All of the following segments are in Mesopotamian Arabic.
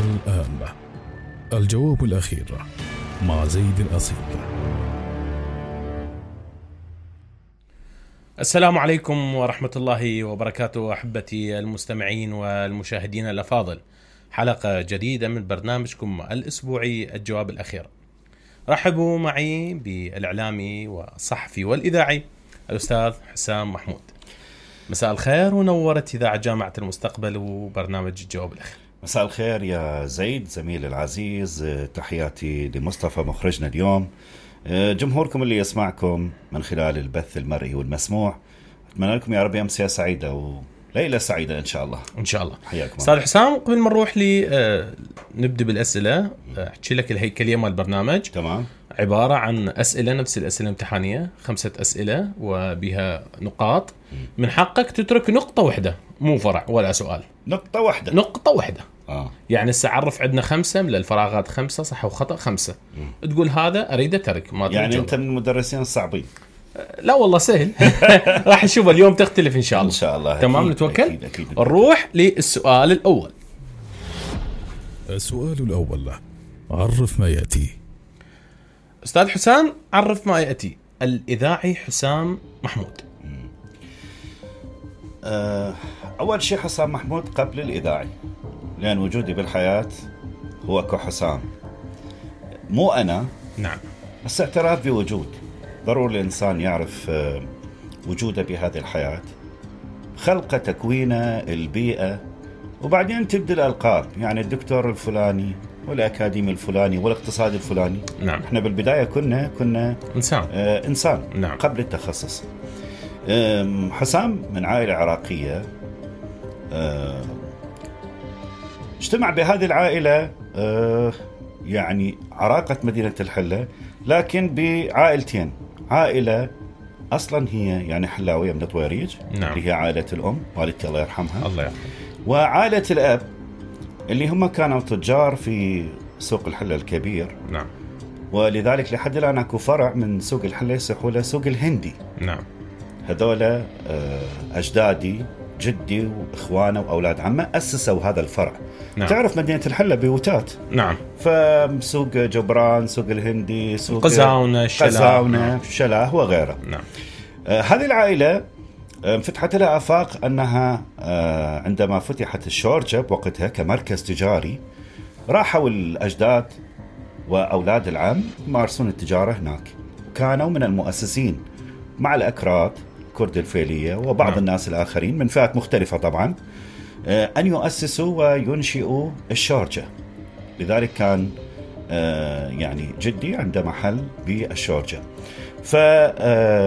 الآن الجواب الأخير مع زيد الأصيل. السلام عليكم ورحمة الله وبركاته أحبتي المستمعين والمشاهدين الأفاضل، حلقة جديدة من برنامجكم الأسبوعي الجواب الأخير. رحبوا معي بالإعلامي والصحفي والإذاعي الأستاذ حسام محمود. مساء الخير ونورت إذاعة جامعة المستقبل وبرنامج الجواب الأخير. مساء الخير يا زيد زميل العزيز، تحياتي لمصطفى مخرجنا اليوم، جمهوركم اللي يسمعكم من خلال البث المرئي والمسموع. أتمنى لكم يا رب أمسية سعيدة وليلة سعيدة إن شاء الله. إن شاء الله. حياكم أستاذ حسام، قبل ما نروح نبدأ بالأسئلة، أحكي لك الهيكلية مال البرنامج. تمام. عبارة عن أسئلة نفس الأسئلة الامتحانية، 5 أسئلة وبها نقاط. من حقك تترك نقطة واحدة، مو فرع ولا سؤال. نقطة واحدة. نقطة واحدة. يعني السعرف عندنا 5 من الفراغات، 5 صح وخطأ 5. تقول هذا أريد أترك، ما يعني أنت من المدرسين الصعبين. لا والله سهل. راح نشوف اليوم تختلف إن شاء الله. إن شاء الله. تمام. أكيد نتوكل. أكيد. نروح للسؤال الأول. السؤال الأول، عرف ما يأتي. أستاذ حسام، عرف ما يأتي. الإذاعي حسام محمود. أول شيء حسام محمود قبل الإذاعي، لأن وجودي بالحياة هو كحسام، مو أنا. نعم. بس اعتراف بوجود، ضروري الإنسان يعرف وجوده بهذه الحياة، خلقه، تكوينه، البيئة، وبعدين تبدأ الألقاب، يعني الدكتور الفلاني والأكاديمي الفلاني والاقتصادي الفلاني. نعم. احنا بالبداية كنا إنسان. إنسان. نعم. قبل التخصص. حسام من عائلة عراقية، اجتمع بهذه العائلة يعني عراقة مدينة الحلة، لكن بعائلتين. عائلة أصلا هي يعني حلاوية من طويريج. نعم. اللي هي عائلة الأم والدتي الله يرحمها. الله يرحمه. وعائلة الأب اللي هم كانوا تجار في سوق الحلة الكبير. نعم. ولذلك لحد الآن اكو فرع من سوق الحلة يسموه له سوق الهندي. نعم. هذول أجدادي، جدي وإخوانه وأولاد عمه أسسوا هذا الفرع. نعم. تعرف مدينة الحلة بيوتات. نعم. فسوق جبران، سوق الهندي، سوق قزاونة، شلاه وغيره. نعم. هذه العائلة فتحت لها آفاق أنها عندما فتحت الشورجة بوقتها كمركز تجاري، راحوا الأجداد وأولاد العم يمارسون التجارة هناك، كانوا من المؤسسين مع الأكراد، كرد الفيلية وبعض الناس الآخرين من فئات مختلفة طبعا، أن يؤسسوا وينشئوا الشورجة. لذلك كان يعني جدي عنده محل بالشورجة. فعائلة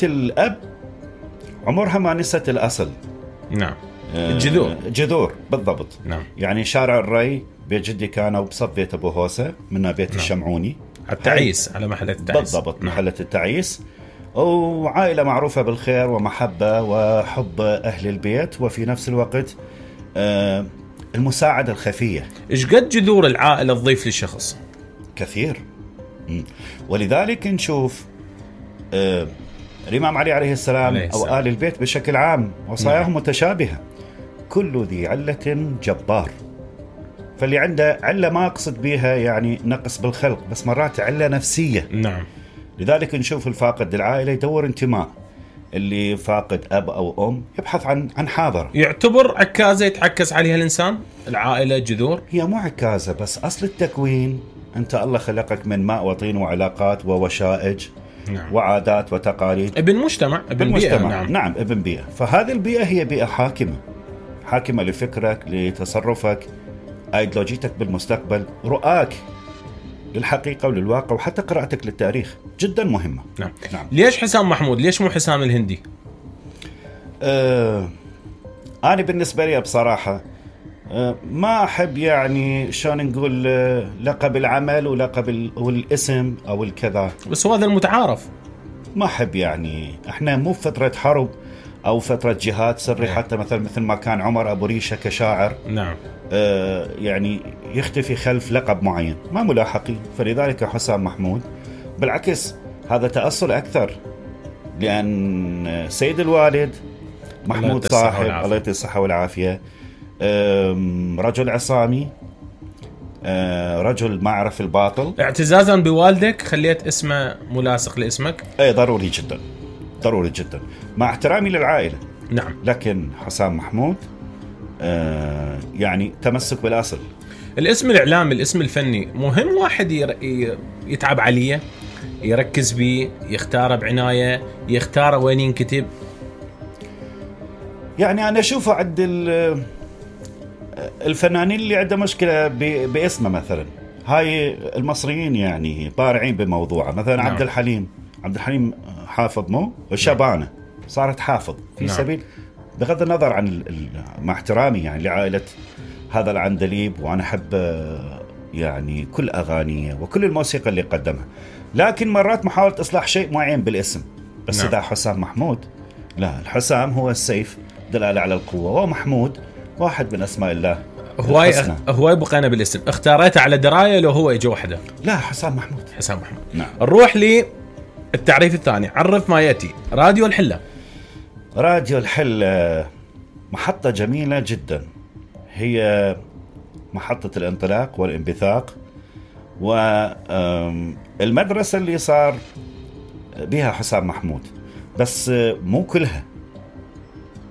الأب عمرها ما نست الأصل. نعم. جذور بالضبط. نعم. يعني شارع الري بيت جدي كانوا بصف بيت أبو هوسة، منها بيت الشمعوني، التعيس على محلة التعيس. بالضبط. محلة التعيس. وعائلة معروفة بالخير ومحبة وحب أهل البيت، وفي نفس الوقت المساعدة الخفية. إيش قد جذور العائلة تضيف للشخص؟ كثير. ولذلك نشوف الإمام علي عليه السلام أو آل البيت بشكل عام وصاياهم متشابهة. كل ذي علة جبار. فاللي عنده علة ما أقصد بها يعني نقص بالخلق، بس مرات علة نفسية. نعم. لذلك نشوف الفاقد العائلة يدور انتماء، اللي فاقد أب أو أم يبحث عن حاضر. يعتبر عكازة يتعكز عليها الإنسان. العائلة جذور، هي مو عكازة بس أصل التكوين. أنت الله خلقك من ماء وطين وعلاقات ووشائج. نعم. وعادات وتقاليد، ابن مجتمع، ابن بيئة. نعم ابن بيئة. فهذه البيئة هي بيئة حاكمة لفكرك، لتصرفك، ايديولوجيتك بالمستقبل، رؤاك للحقيقة وللواقع، وحتى قراءتك للتاريخ جدا مهمة. نعم. ليش حسام محمود؟ ليش مو حسام الهندي؟ أنا بالنسبة لي بصراحة ما أحب يعني شلون نقول لقب العمل ولقب والاسم أو الكذا، بس هو هذا المتعارف. ما أحب يعني إحنا مو فترة حرب أو فترة جهاد سري. حتى مثل ما كان عمر أبو ريشة كشاعر. نعم. يعني يختفي خلف لقب معين، ما ملاحقين. فلذلك حسام محمود بالعكس هذا تأصل أكثر، لأن سيد الوالد محمود صاحب الله يعطيه الصحة والعافية رجل عصامي، رجل ما يعرف الباطل. اعتزازا بوالدك خليت اسمه ملاصق لاسمك. اي ضروري جدا، ضروري جدا، مع احترامي للعائلة. نعم. لكن حسام محمود يعني تمسك بالأصل. الاسم الإعلامي، الاسم الفني، مهم واحد يتعب عليه، يركز بيه، يختاره بعناية، يختاره وين ينكتب. يعني أنا أشوفه عند الفنانين اللي عنده مشكلة باسمه مثلا، هاي المصريين يعني بارعين بموضوعه. مثلا نعم. عبد الحليم حافظ مو الشبانة صارت حافظ في نعم. سبيل، بغض النظر عن مع احترامي يعني لعائلة هذا العندليب، وأنا أحب يعني كل أغانيه وكل الموسيقى اللي قدمها، لكن مرات محاولة إصلاح شيء معين بالاسم. بس نعم. إذا حسام محمود، لا، الحسام هو السيف دلالة على القوة، ومحمود واحد من أسماء الله. هواي بقينا بالاسم، اختاريته على دراية لو هو اجى وحده؟ لا، حسام محمود. نعم. نروح للتعريف الثاني. عرف ما يأتي. راديو الحلة. راديو الحلة محطة جميلة جدا، هي محطة الانطلاق والانبثاق، والمدرسة اللي صار بها حسام محمود، بس مو كلها،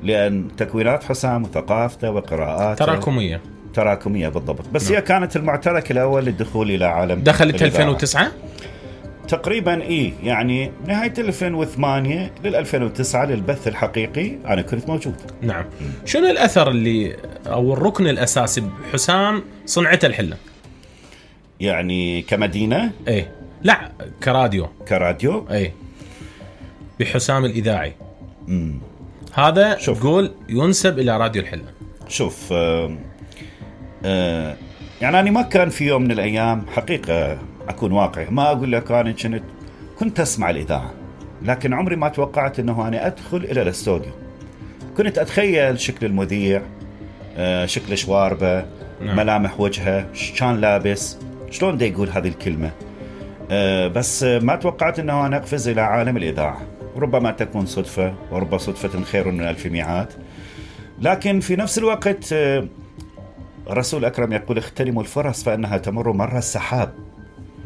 لأن تكوينات حسام وثقافته وقراءاته تراكمية بالضبط. بس هي كانت المعترك الأول للدخول إلى عالم. دخلت 2009 تقريبا، يعني نهاية 2008 لل2009 للبث الحقيقي أنا كنت موجود. نعم. شنو الأثر اللي أو الركن الأساسي بحسام صنعته الحلة؟ يعني كمدينة؟ إيه، لا، كراديو. إيه، بحسام الإذاعي. هذا تقول ينسب إلى راديو الحلة. شوف، يعني أنا ما كان في يوم من الأيام حقيقة أكون واقعي، ما أقول لك أنا كنت أسمع الإذاعة، لكن عمري ما توقعت أنه أنا أدخل إلى الاستوديو. كنت أتخيل شكل المذيع، شكل شواربه، نعم. ملامح وجهه، كان لابس، شلون دا يقول هذه الكلمة. بس ما توقعت أنه أنا أقفز إلى عالم الإذاعة. ربما تكون صدفة، ورب صدفة خير من ألف ميعاد. لكن في نفس الوقت الرسول الأكرم يقول اغتنموا الفرص فإنها تمر مر السحاب.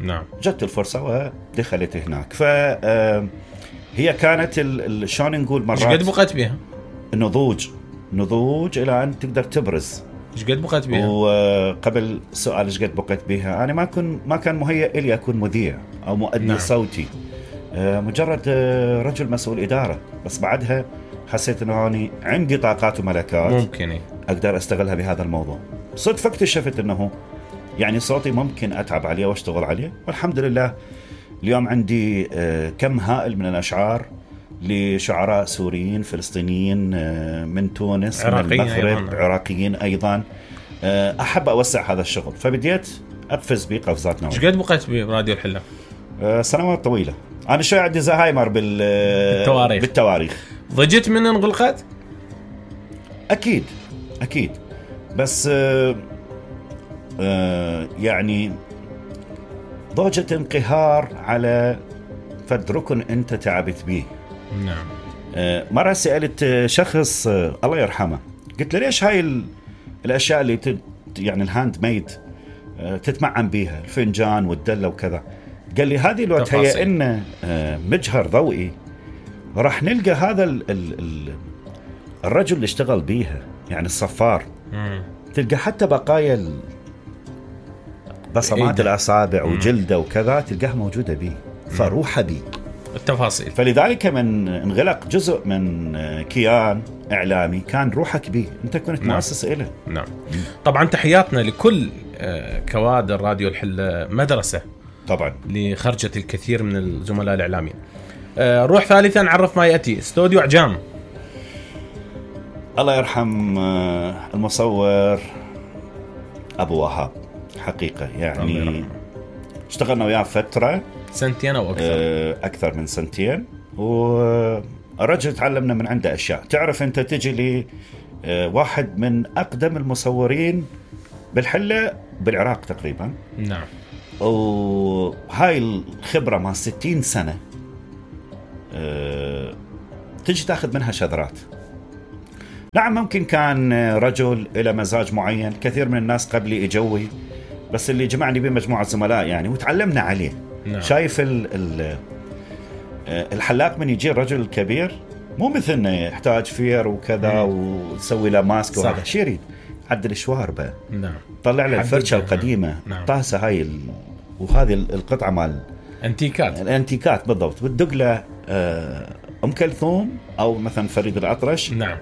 نعم. جت الفرصة ودخلت هناك. فهي كانت شلون نقول مرات. ايش قد بقيت بها؟ نضوج إلى أن تقدر تبرز. ايش قد بقيت بها؟ وقبل سؤال ايش قد بقيت بها، أنا ما كان مهيئ لي أكون مذيع أو مؤدي نعم. صوتي، مجرد رجل مسؤول إدارة. بس بعدها حسيت أنه أنا عندي طاقات وملكات ممكن أقدر أستغلها بهذا الموضوع. صدفة اكتشفت أنه يعني صوتي ممكن أتعب عليه واشتغل عليه، والحمد لله اليوم عندي كم هائل من الأشعار لشعراء سوريين، فلسطينيين، من تونس، من المغرب، عراقيين أيضا. أحب أوسع هذا الشغل، فبديت أقفز بقفزات نوعية. ايش قد بقيت براديو الحلة؟ سنوات طويلة. أنا شوي عندي زهايمر بالتواريخ. ضجت من انغلقت؟ أكيد، بس يعني ضوجة انقهار على فد ركن أنت تعبت به. نعم. مرة سألت شخص الله يرحمه، قلت له ليش هاي الأشياء اللي يعني الهاند ميد تتمعن بيها، الفنجان والدلة وكذا؟ قال لي هذه لو تهيئنا مجهر ضوئي راح نلقى هذا الرجل اللي اشتغل بيها، يعني الصفار. تلقى حتى بقايا بصمات الأصابع وجلده وكذا تلقاها موجودة بيه، فروحها بيه التفاصيل. فلذلك من انغلق جزء من كيان إعلامي كان روحك بيه، أنت كنت مؤسس إله. نعم. طبعا تحياتنا لكل كوادر راديو الحلة، مدرسة طبعا لخرجت الكثير من الزملاء الإعلاميين. روح ثالثا، عرف ما يأتي. استوديو عجام. الله يرحم المصور أبو وهاب، حقيقة يعني اشتغلنا وياه فترة، سنتين أو أكثر من سنتين، والرجل تعلمنا من عنده أشياء. تعرف أنت تجي لي واحد من أقدم المصورين بالحلة بالعراق تقريبا. نعم. وهاي الخبرة مع 60 سنة تجي تاخذ منها شذرات. نعم ممكن كان رجل إلى مزاج معين. كثير من الناس قبلي إجوي، بس اللي جمعني بمجموعة زملاء يعني وتعلمنا عليه. نعم. شايف الحلاق من يجي الرجل الكبير مو مثلنا يحتاج فير وكذا وتسوي له ماسك وهذا شيء، يريد عدل شواربه. نعم. طلع له الفرشة القديمة. نعم. طاسة هاي وهذه القطعة مال الانتيكات بالضبط، بتدق له أم كلثوم أو مثلا فريد الأطرش. نعم.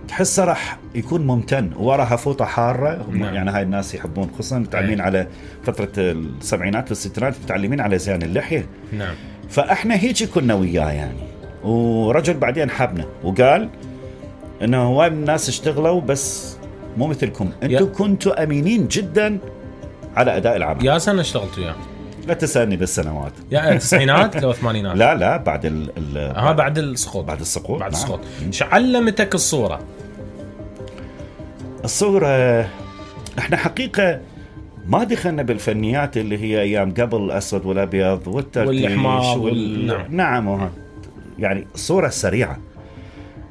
تحسه راح يكون ممتن، وراها فوطة حارة. نعم. يعني هاي الناس يحبون، خصوصا متعلمين على فترة السبعينات والستينات، متعلمين على زين اللحية. نعم. فاحنا هيك كنا وياه يعني. ورجل بعدين حبنا وقال انه هواي من الناس اشتغلوا بس مو مثلكم، انتم كنتوا امينين جدا على اداء العمل. يا سنة اشتغلت وياه؟ لا تسألني بالسنوات. يا التسعينات لو الثمانينات؟ لا بعد بعد السقوط. بعد السقوط. بعد السقوط. شو علمتك الصورة؟ احنا حقيقة ما دخلنا بالفنيات اللي هي ايام قبل الاسود والابيض والترتيش نعم يعني الصورة السريعة.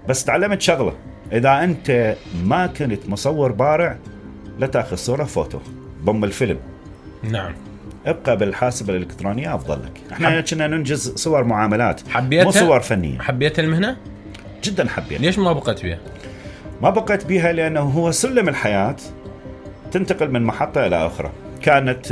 بس تعلمت شغلة، اذا انت ما كنت مصور بارع لا تاخذ صورة فوتو ضم الفيلم. نعم. ابقى بالحاسبة الالكترونية افضل لك. احنا كنا ننجز صور معاملات حبيتها؟ مو صور فنية. حبيت المهنة؟ جدا حبيت. ليش ما بقيت بيها؟ ما بقيت بيها لانه هو سلم الحياة، تنتقل من محطة الى اخرى. كانت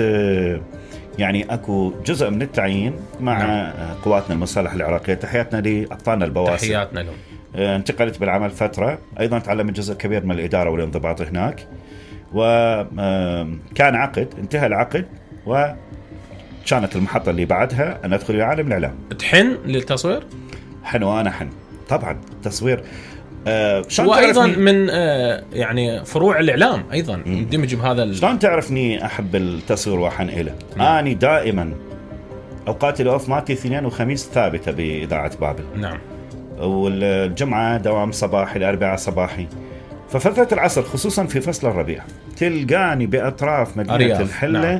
يعني اكو جزء من التعيين مع قواتنا المسلحة العراقية. تحياتنا لأبطالنا البواسل، تحياتنا لهم. انتقلت بالعمل فترة، ايضا تعلمت جزء كبير من الإدارة والانضباط هناك. وكان عقد، انتهى العقد وكانت المحطة اللي بعدها أن أدخل إلى عالم الإعلام. تحن للتصوير؟ وأنا حن طبعا تصوير. وأيضا من يعني فروع الإعلام أيضا يندمج بهذا. شلون تعرفني أحب التصوير وأحن إله؟ أنا دائما أوقاتي الأوف مالتي اثنين وخميس ثابتة بإذاعة بابل. نعم. والجمعة دوام صباحي، الأربعاء صباحي. ففترة العصر خصوصا في فصل الربيع تلقاني بأطراف مدينة الحلة. نعم.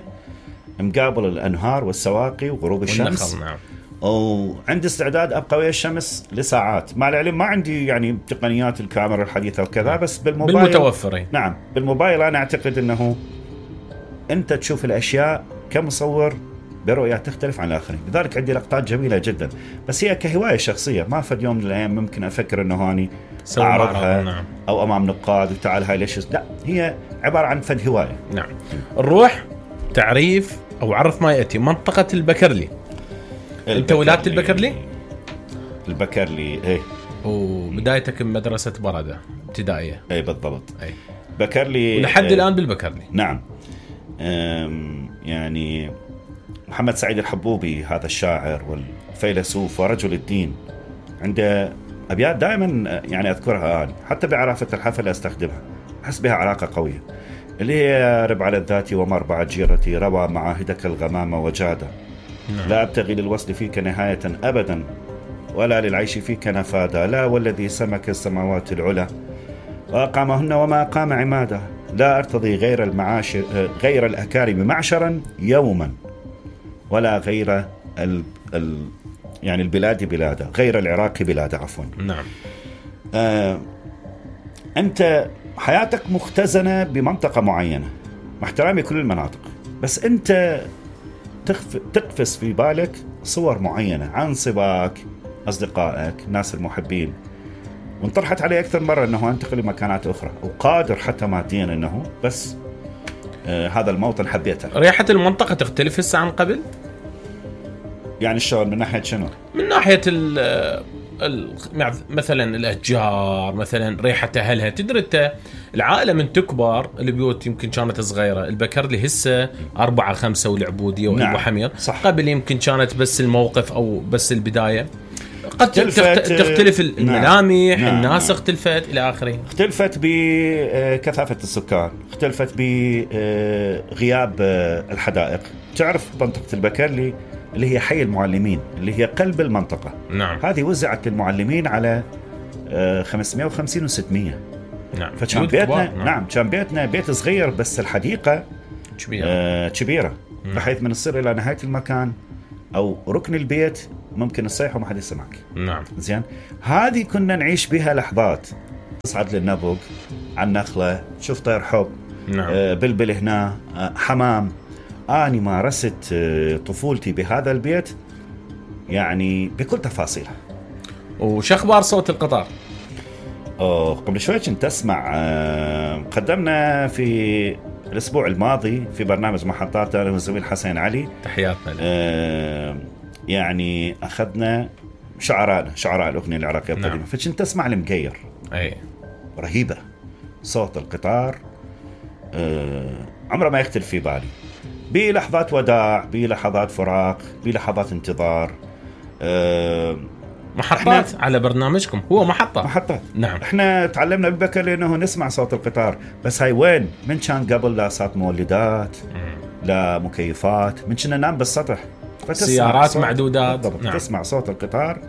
مقابل الأنهار والسواقي وغروب الشمس. نعم. وعندي استعداد أبقى ويا الشمس لساعات. مع العلم ما عندي يعني تقنيات الكاميرا الحديثة وكذا، بس بالموبايل بالمتوفرين. نعم بالموبايل أنا أعتقد أنه أنت تشوف الأشياء كمصور برؤية تختلف عن الآخرين. لذلك عندي لقطات جميلة جدا، بس هي كهواية شخصية. ما فد يوم من الأيام ممكن أفكر أنه هاني أعرضها. نعم. أو أمام نقاد وتعال هاي ليش. لا، هي عبارة عن فد هواية. نعم. نروح تعريف أو عرف ما يأتي منطقة البكرلي. أنت ولادة البكرلي؟ البكرلي إيه. وبدايتك بمدرسة بردة ابتدائية. إيه بالضبط. أي. بكرلي ولحد الآن بالبكرلي. نعم. يعني محمد سعيد الحبوبي هذا الشاعر والفيلسوف ورجل الدين عنده أبيات دائما يعني أذكرها أنا، حتى بعرافة الحفل أستخدمها، أحس بها علاقة قوية، اللي هي رب على الذات ومربع جيرتي روى معاهدك الغمام وجادة. لا أبتغي للوصل فيك نهاية أبدا ولا للعيش فيك نفادا. لا والذي سمك السماوات العلى وأقامهن وما أقام عمادا. لا أرتضي غير المعاشر غير الأكارم معشرا يوما ولا غير يعني البلاد بلادا، غير العراق بلادا عفوا. نعم. أنت حياتك مختزنة بمنطقة معينة، مع احترامي كل المناطق، بس أنت تقفز في بالك صور معينة عن صباك، أصدقائك، ناس المحبين، وانطرحت علي أكثر مرة أنه أنتقل لمكانات أخرى، وقادر حتى ماديا أنه بس هذا الموطن حبيته. ريحة المنطقة تختلف هسه عن قبل؟ يعني الشغل من ناحية شنو؟ من ناحية مثلا الأشجار، مثلا ريحة أهلها. تدري أنت العائلة من تكبر، البيوت يمكن كانت صغيرة. البكرلي هسه 4-5 والعبودية وأبو حمير. صح. قبل يمكن كانت بس الموقف أو بس البداية. قد تختلف الملامح. نعم. الناس اختلفت إلى آخره. اختلفت بكثافة السكان، اختلفت بغياب الحدائق. تعرف منطقة البكرلي اللي هي حي المعلمين اللي هي قلب المنطقة. نعم. هذه وزعت للمعلمين على 550 و600. نعم. فكان بيتنا نعم كان بيتنا بيت صغير بس الحديقة كبيرة بحيث من الصير إلى نهاية المكان أو ركن البيت ممكن تصيح وما حد يسمعك. نعم. زين، هذه كنا نعيش بها لحظات. تصعد للنبق على النخلة، تشوف طير حب، نعم. بلبل هنا، حمام. أنا مارست طفولتي بهذا البيت يعني بكل تفاصيلها. وش أخبار صوت القطار؟ قبل شوي كنت أسمع، قدمنا في الأسبوع الماضي في برنامج محطات أنا والزميل حسين علي، تحياتنا له. يعني أخذنا شعراء الأغنية العراقية القديمة. نعم. فكنت أسمع المقير، أي رهيبة صوت القطار، عمره ما يختلف في بالي، بلحظات وداع، بلحظات فراق، بلحظات انتظار. محطات على برنامجكم هو محطات. نعم. احنا تعلمنا ببكر لأنه نسمع صوت القطار، بس هاي وين؟ من كان قبل لا صوت مولدات، لا مكيفات، من كنا ننام بالسطح، سيارات معدودات. نعم. تسمع صوت القطار،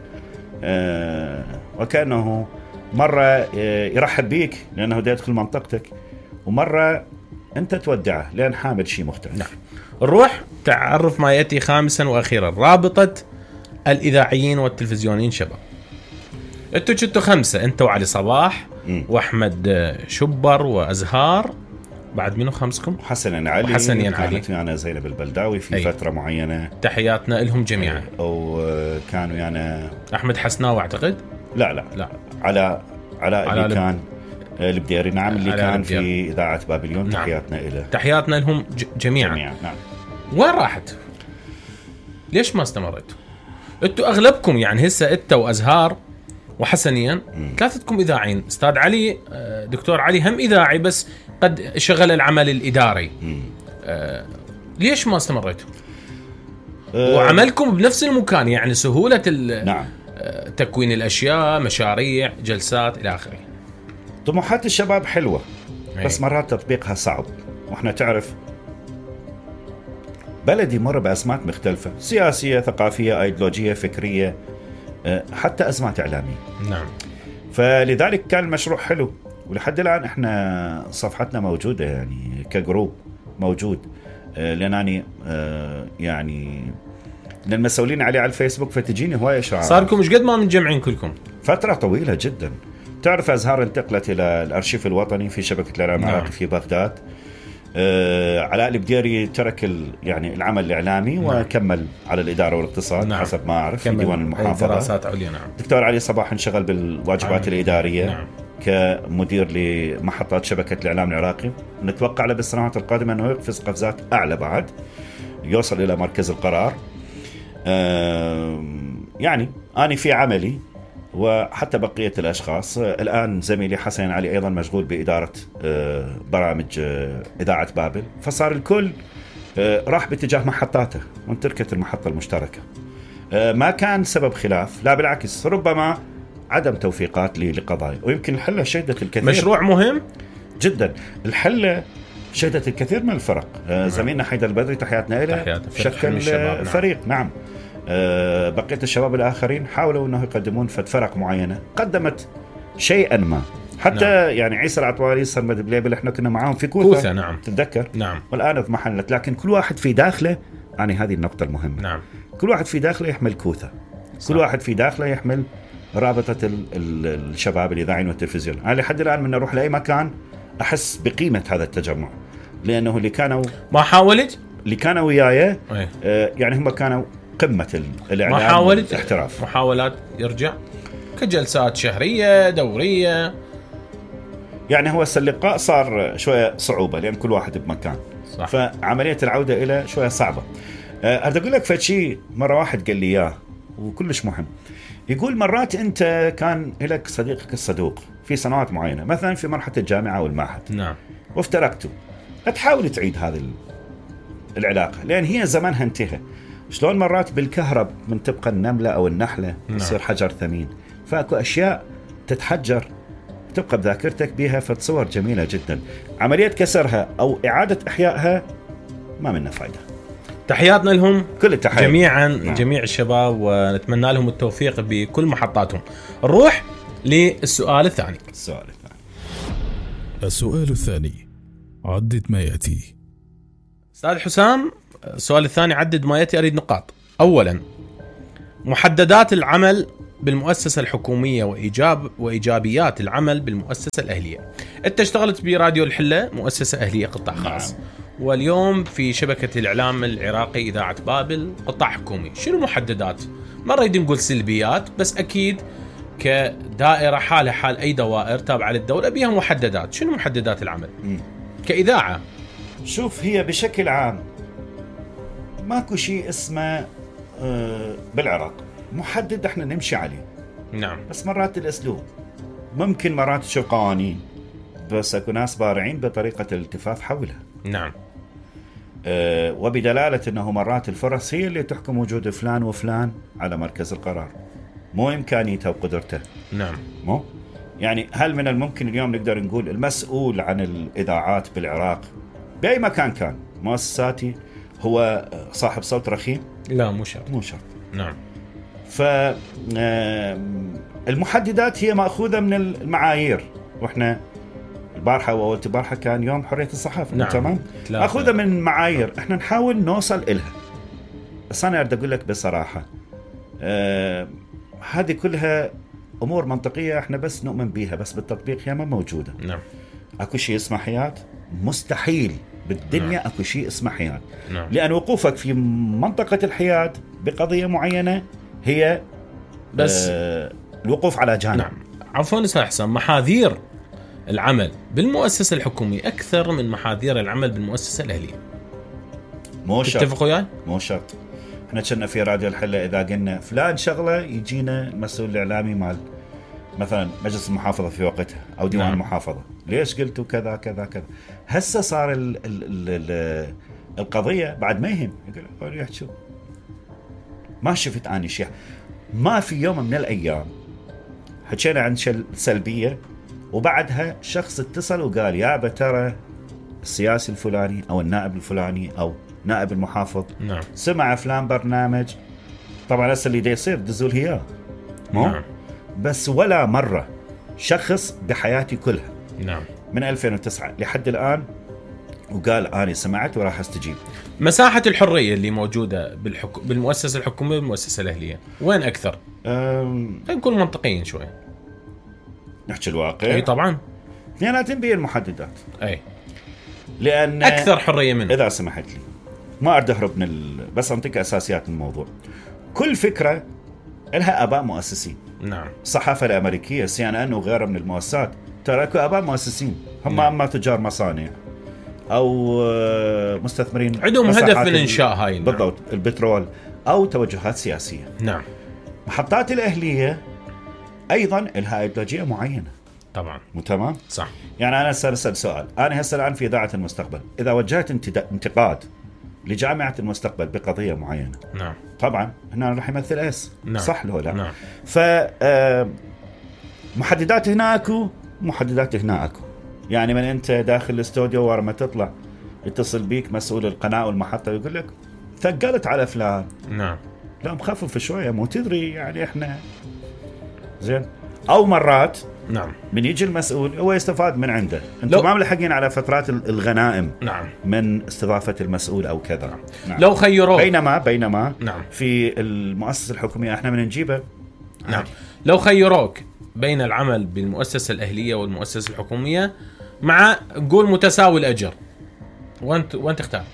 وكأنه مرة يرحب بيك لأنه دا يدخل منطقتك، ومرة أنت تودعه لأن حامل شيء مختلف. نعم. نروح تعرف ما يأتي خامسا وأخيرا، رابطة الإذاعيين والتلفزيونيين شباب. أنتوا كنتوا 5، أنت وعلي صباح وأحمد شبر وأزهار، بعد منو خمسكم؟ حسن علي. كانت أنا زينب البلداوي في فترة معينة. تحياتنا لهم جميعا. وكانوا يعني أحمد حسناوي أعتقد. لا علاء اللي كان البديري. نعم. اللي كان البديري في إذاعة بابليون. نعم. تحياتنا إله. تحياتنا لهم جميعا. نعم. وين راحت؟ ليش ما استمرتوا؟ انتوا اغلبكم يعني هسه انت وازهار وحسنيا ثلاثتكم اذاعيين. استاذ علي، دكتور علي هم اذاعي بس قد شغل العمل الاداري. ليش ما استمرتوا؟ وعملكم بنفس المكان، يعني سهولة نعم. تكوين الاشياء، مشاريع، جلسات الى اخره. طموحات الشباب حلوة بس مرات تطبيقها صعب، واحنا تعرف بلدي مر بأزمات مختلفة، سياسية، ثقافية، أيديولوجية، فكرية، حتى أزمات إعلامية. نعم. فلذلك كان المشروع حلو، ولحد الآن إحنا صفحتنا موجودة يعني كجروب موجود، لأنني يعني للمسؤولين عليه على الفيسبوك، فتجيني هواية شعار. صاركم مش قد ما متجمعين كلكم؟ فترة طويلة جدا. تعرف أزهار انتقلت إلى الأرشيف الوطني في شبكة الإعلام العراقي في بغداد. علاء البديري ترك يعني العمل الإعلامي وكمل على الإدارة والاقتصاد. حسب ما أعرف في ديوان المحافظة. دراسات عليا. نعم. دكتور علي صباح انشغل بالواجبات الإدارية. نعم. كمدير لمحطات شبكة الإعلام العراقي. نتوقع له بالسنوات القادمة أنه يقفز قفزات أعلى بعد، يوصل إلى مركز القرار. يعني أنا في عملي وحتى بقية الأشخاص. الآن زميلي حسين علي أيضا مشغول بإدارة برامج إذاعة بابل، فصار الكل راح باتجاه محطاته وانتركت المحطة المشتركة. ما كان سبب خلاف، لا بالعكس، ربما عدم توفيقات لقضايا، ويمكن الحلة شهدت الكثير. مشروع مهم جدا. الحلة شهدت الكثير من الفرق. زميلنا حيدر البدري تحياتنا له شكل فريق. نعم. بقية الشباب الآخرين حاولوا أنه يقدمون فرق معينة، قدمت شيئا ما. حتى نعم. يعني عيسى العطواري، سرمد بليبل، احنا كنا معاهم في كوثة. نعم. تتذكر؟ نعم. والآن اضمحلت، لكن كل واحد في داخله، يعني هذه النقطة المهمة. نعم. كل واحد في داخله يحمل كوثة. صح. كل واحد في داخله يحمل رابطة الشباب الإذاعيين والتلفزيون. أنا لحد الآن من أروح لأي مكان أحس بقيمة هذا التجمع، لأنه اللي كانوا ما حاولت، اللي كانوا وياي يعني هم كانوا قمة الإعلام والاحتراف. محاولات يرجع كجلسات شهرية دورية، يعني هو اللقاء صار شوية صعوبة لأن كل واحد بمكان. صح. فعملية العودة إلى شوية صعبة. أريد أقول لك فشي مرة واحد قال لي إياه وكلش مهم. يقول مرات أنت كان لك صديقك الصدوق في سنوات معينة، مثلا في مرحلة الجامعة والمعهد. نعم. وافترقتوا، تحاول تعيد هذه العلاقة لأن هي زمانها انتهى. شلون مرات بالكهرب من تبقى النملة أو النحلة يصير حجر ثمين، فأكو أشياء تتحجر تبقى بذاكرتك بها، فتصور جميلة جدا. عملية كسرها أو إعادة إحيائها ما منها فايدة. تحياتنا لهم كل التحيات جميعا. نعم. جميع الشباب، ونتمنى لهم التوفيق بكل محطاتهم. نروح للسؤال الثاني. السؤال الثاني، عدد ما يأتي. أستاذ حسام، السؤال الثاني عدد ما يأتي، أريد نقاط. أولا، محددات العمل بالمؤسسة الحكومية وإيجابيات العمل بالمؤسسة الأهلية. أنت اشتغلت براديو الحلة، مؤسسة أهلية قطاع خاص. واليوم في شبكة الإعلام العراقي إذاعة بابل قطاع حكومي. شنو محددات؟ ما نريد نقول سلبيات، بس أكيد كدائرة حالها حال أي دوائر تابعة للدولة بها محددات. شنو محددات العمل كإذاعة؟ شوف، هي بشكل عام ماكو شيء اسمه بالعراق محدد احنا نمشي عليه. نعم. بس مرات الاسلوب ممكن مرات تشوف قوانين، بس اكو ناس بارعين بطريقة الالتفاف حولها. نعم. وبدلالة انه مرات الفرص هي اللي تحكم وجود فلان وفلان على مركز القرار، مو امكانيته وقدرته. نعم. مو يعني هل من الممكن اليوم نقدر نقول المسؤول عن الاذاعات بالعراق باي مكان كان مؤسساتي هو صاحب صوت رخيم؟ لا، مو شرط. مو شرط. نعم. فالمحددات هي مأخوذة من المعايير، واحنا البارحة وأول البارحة كان يوم حرية الصحافة. نعم. تمام. مأخوذة من معايير احنا نحاول نوصل إلها. بس أنا أريد أقول لك بصراحة هذه كلها أمور منطقية احنا بس نؤمن بيها، بس بالتطبيق هي ما موجودة. نعم. أكو شيء اسمه حياة؟ مستحيل بالدنيا. نعم. أكو شيء اسمه حياة. نعم. لأن وقوفك في منطقة الحياة بقضية معينة هي بس الوقوف على جانب. نعم. عفوا أستاذ حسن، محاذير العمل بالمؤسسة الحكومية أكثر من محاذير العمل بالمؤسسة الأهلية. مو شرط. تتفقوا وياي؟ مو شرط. احنا كنا في راديو الحلة إذا قلنا فلان شغلة يجينا المسؤول الإعلامي مال مثلا مجلس المحافظة في وقتها أو ديوان نعم. المحافظة، ليش قلتوا كذا كذا كذا. هسه صار القضية بعد ما يهم يقول يحكوا ما شفت أنا شيء. ما في يوم من الأيام حكينا عن سلبية وبعدها شخص اتصل وقال يا ترى السياسي الفلاني أو النائب الفلاني أو نائب المحافظ نعم. سمع فلان برنامج. طبعا هسه اللي دا يصير دزول هي مو نعم. بس ولا مرة شخص بحياتي كلها نعم. من 2009 لحد الآن وقال أنا سمعت وراح استجيب. مساحة الحرية اللي موجودة بالمؤسسة الحكومية والمؤسسة الأهلية وين أكثر؟ نكون منطقيين شوي، نحكي الواقع. أي طبعا اثنيناتهم بين المحددات. أي لأن أكثر حرية منه. إذا سمحت لي ما أريد أهرب بس أنطيك أساسيات الموضوع. كل فكرة لها آباء مؤسسين. نعم. الصحافة الأمريكية CNN وغيرها من المؤسسات ترى اكو آباء مؤسسين هم. نعم. أما تجار مصانع أو مستثمرين عندهم هدف من إنشاء هاي. نعم. بالضبط. البترول أو توجهات سياسية. نعم. محطات الأهلية أيضا لها أيديولوجية معينة. طبعا. مو تمام؟ صح. يعني أنا سأسأل سؤال، أنا هسه الآن في إذاعة المستقبل إذا وجهت انتقاد لجامعة المستقبل بقضية معينة. نعم. طبعا هنا راح يمثل اس. نعم. صح له لا؟ نعم. محددات هناكو محددات هناكو. يعني من أنت داخل الاستوديو ورا ما تطلع يتصل بيك مسؤول القناة والمحطة ويقول لك ثقلت على فلان. نعم. لا مخفف شوية مو تدري يعني إحنا زين. أو مرات نعم من يجي المسؤول هو يستفاد من عنده. انتم ما ملحقين على فترات الغنائم. نعم. من استضافة المسؤول أو كذا. نعم. لو خيروك بينما نعم. في المؤسسة الحكومية احنا من نجيبه. نعم. لو خيروك بين العمل بالمؤسسة الأهلية والمؤسسة الحكومية مع نقول متساوي الأجر، وانت تختار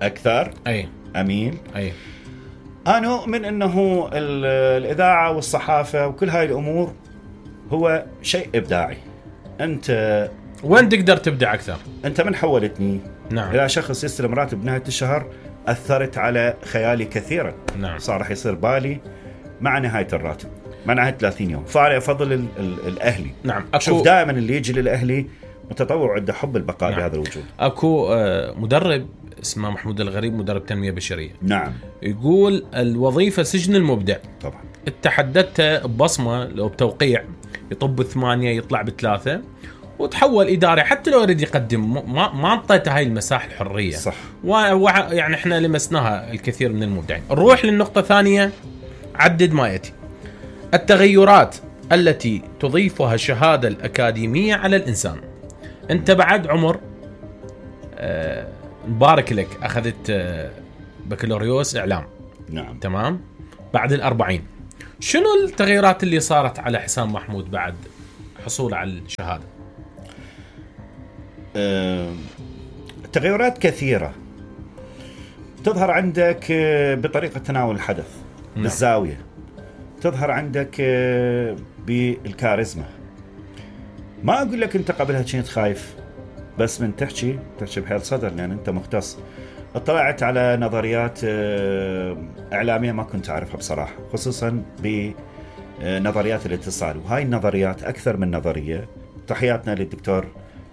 أكثر؟ أي أمين. أي أنا أؤمن أنه الإذاعة والصحافة وكل هاي الأمور هو شيء إبداعي. أنت وين تقدر تبدع أكثر؟ أنت من حولتني نعم. إلى شخص يستلم راتب نهاية الشهر أثرت على خيالي كثيرا. نعم. صار رح يصير بالي مع نهاية الراتب مع نهاية 30 يوم. فأنا أفضل الأهلي. نعم. شوف دائما اللي يجي للأهلي متطوع عنده حب البقاء. نعم. بهذا الوجود. أكو مدرب اسمه محمود الغريب، مدرب تنمية بشرية. نعم. يقول الوظيفة سجن المبدع. طبعا. تحددت ببصمة لو بتوقيع يطب 8 يطلع ب3 وتحول إداري حتى لو يريد يقدم ما انطيته هاي المساحة الحرية. صح. يعني احنا لمسناها الكثير من المبدعين. نروح للنقطة الثانية، عدد ما يأتي التغيرات التي تضيفها الشهادة الأكاديمية على الإنسان. أنت بعد عمر مبارك لك أخذت بكالوريوس إعلام. نعم. تمام. بعد 40 شنو التغييرات اللي صارت على حسام محمود بعد حصوله على الشهادة؟ تغيرات كثيرة تظهر عندك بطريقة تناول الحدث. نعم. بالزاوية تظهر عندك بالكاريزما. ما أقول لك أنت قبلها كنت خايف، بس من تحكي بحيل صدر لأن أنت مختص. اطلعت على نظريات إعلامية ما كنت أعرفها بصراحة، خصوصا بنظريات الاتصال، وهاي النظريات أكثر من نظرية. تحياتنا للدكتور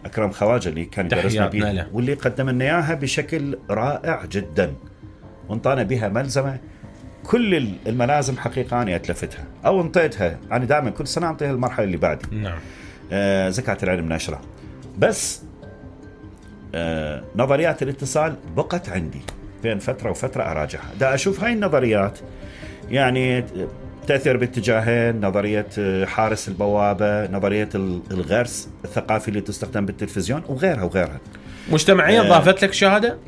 أكرم خواجة اللي كان يدرسنا بيها واللي قدم لنا إياها بشكل رائع جدا، وانطانا بها ملزمة. كل الملازم حقيقة أنا أتلفتها أو انطيتها، أنا دائما كل سنة أنطيها المرحلة اللي بعدي. نعم. زكاة العلم نشرة. بس نظريات الاتصال بقت عندي بين فترة وفترة أراجعها، دا أشوف هاي النظريات يعني تأثير باتجاهين: نظرية حارس البوابة، نظرية الغرس الثقافي اللي تستخدم بالتلفزيون، وغيرها. مجتمعية ضافت لك شهادة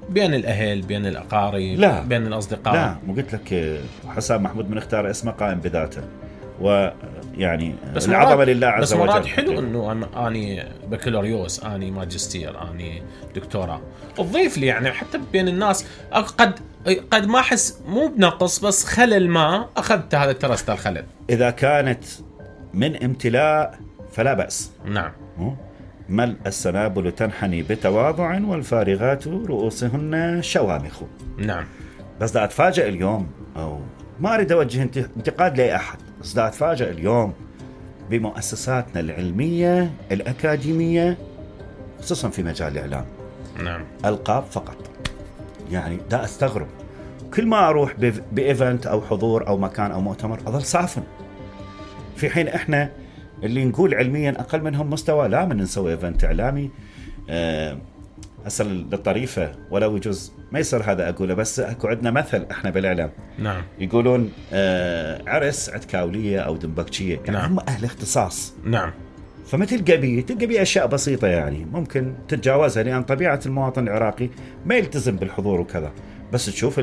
بين الأهل، بين الأقارب، لا. بين الأصدقاء؟ لا، مو قلت لك حسام محمود من اختار اسمه قائم بذاته، ويعني العظمة لله عز وجل. بس مرات حلو انه اني بكالوريوس، اني ماجستير، اني دكتوراه، تضيف لي يعني حتى بين الناس. قد ما احس مو بنقص بس خلل، ما اخذت هذا ترست الخلل. اذا كانت من امتلاء فلا بأس. نعم. ملء السنابل تنحني بتواضع والفارغات رؤوسهن شوامخ. نعم. بس دا اتفاجئ اليوم، او ما اريد اوجه انتقاد لاي احد، بس دا اتفاجئ اليوم بمؤسساتنا العلمية الأكاديمية خصوصا في مجال الإعلام. نعم. ألقاب فقط. يعني دا استغرب، كل ما أروح بإيفنت أو حضور أو مكان أو مؤتمر أظل صافن، في حين إحنا اللي نقول علميا أقل منهم مستوى. لا، من نسوي إيفنت إعلامي هسه للطريفة ولو يجوز ما يصير هذا أقوله، بس أكو عندنا مثل إحنا بالإعلام. نعم. يقولون عرس عتكاولية أو دنبكشية، يعني نعم. هم أهل اختصاص. نعم. فما تلقى بيه أشياء بسيطة يعني ممكن تتجاوزها، لأن طبيعة المواطن العراقي ما يلتزم بالحضور وكذا. بس تشوف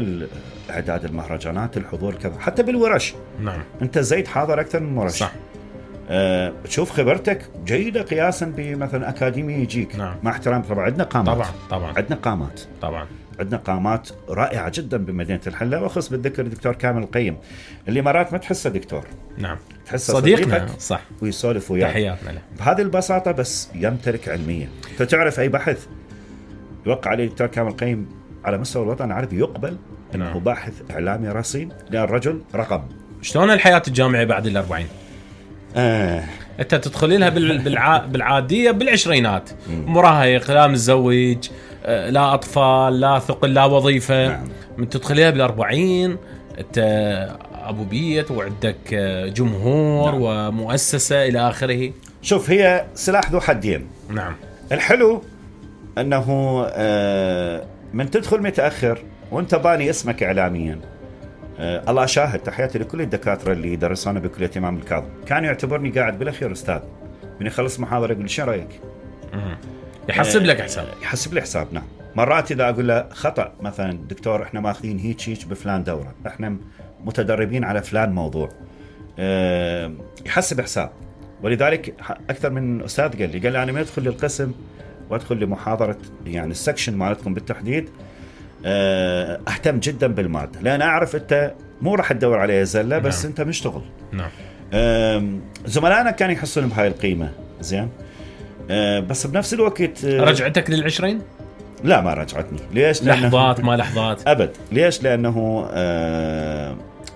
إعداد المهرجانات، الحضور كذا، حتى بالورش. نعم. أنت زيد حاضر أكثر من ورش. صح. تشوف خبرتك جيدة قياسا بمثلا أكاديمي يجيك. نعم. مع احترام طبعا عندنا قامات. طبعا عندنا قامات. طبعا عندنا قامات رائعة جدا بمدينة الحلة، وأخص بالذكر الدكتور كامل القيم اللي مرات ما تحسه دكتور. نعم. تحسه صديقنا. صح. ويسولف وياك. تحياتنا له بهذه البساطة، بس يمتلك علمية. فتعرف أي بحث يوقع عليه الدكتور كامل القيم على مستوى الوطن العربي يقبل أنه نعم. باحث إعلامي رصين، لأن الرجل رقم. شلون الحياة الجامعية بعد 40؟ انت تدخلي لها بالعاديه بالعشرينات، مراهق، لا متزوج، لا اطفال، لا ثقل، لا وظيفه. نعم. من تدخليها بال40 انت ابو بيت وعندك جمهور. نعم. ومؤسسه الى اخره. شوف، هي سلاح ذو حدين. نعم. الحلو انه من تدخل متاخر وانت باني اسمك اعلاميا. الله شاهد، تحياتي لكل الدكاتره اللي درسونا بكليه امام الكاظم، كان يعتبرني قاعد بالاخير استاذ. من يخلص محاضره يقول لي شو رايك؟ يحسب لك حساب. يحسب لي حساب. نعم. مرات اذا اقول له خطا، مثلا دكتور احنا ماخذين هيك بفلان دوره، احنا متدربين على فلان موضوع، يحسب حساب. ولذلك اكثر من استاذ قال لي انا ما ادخل للقسم وادخل لمحاضره يعني السكشن مالتكم بالتحديد، اهتم جدا بالماده، لان اعرف انت مو راح تدور عليها زله، بس نعم. انت مشتغل. نعم. زملائنا كانوا يحصلون بهاي القيمه زين، بس بنفس الوقت رجعتك لل20؟ لا، ما رجعتني. ليش؟ لحظات ما لحظات ابد. ليش؟ لانه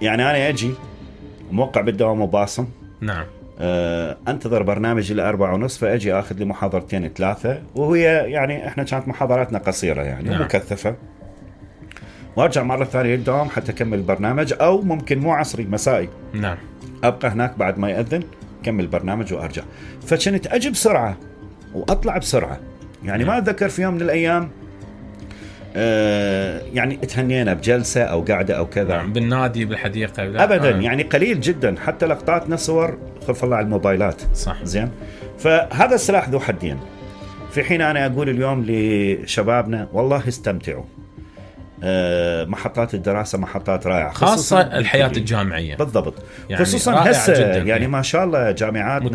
يعني انا اجي موقع بالدوام وباصم. نعم. انتظر برنامجي 4:30، فاجي اخذ لي محاضرتين 3، وهي يعني احنا كانت محاضراتنا قصيره يعني. نعم. مكثفه، وارجع مره ثانيه للدوام حتى اكمل البرنامج، او ممكن مو عصري، مسائي. نعم. ابقى هناك بعد ما يأذن كمل البرنامج وارجع. فكنت اجي بسرعه واطلع بسرعه يعني. ما اتذكر في يوم من الايام يعني تهنينا بجلسه او قاعده او كذا. نعم. بالنادي بالحديقه ابدا. يعني قليل جدا، حتى لقطاتنا صور خلف الله على الموبايلات. صح. زين. فهذا السلاح ذو حدين. في حين انا اقول اليوم لشبابنا والله استمتعوا، محطات الدراسة محطات رائعة، خاصة الحياة الجامعية بالضبط، يعني خصوصا هسه يعني جداً ما شاء الله جامعاتنا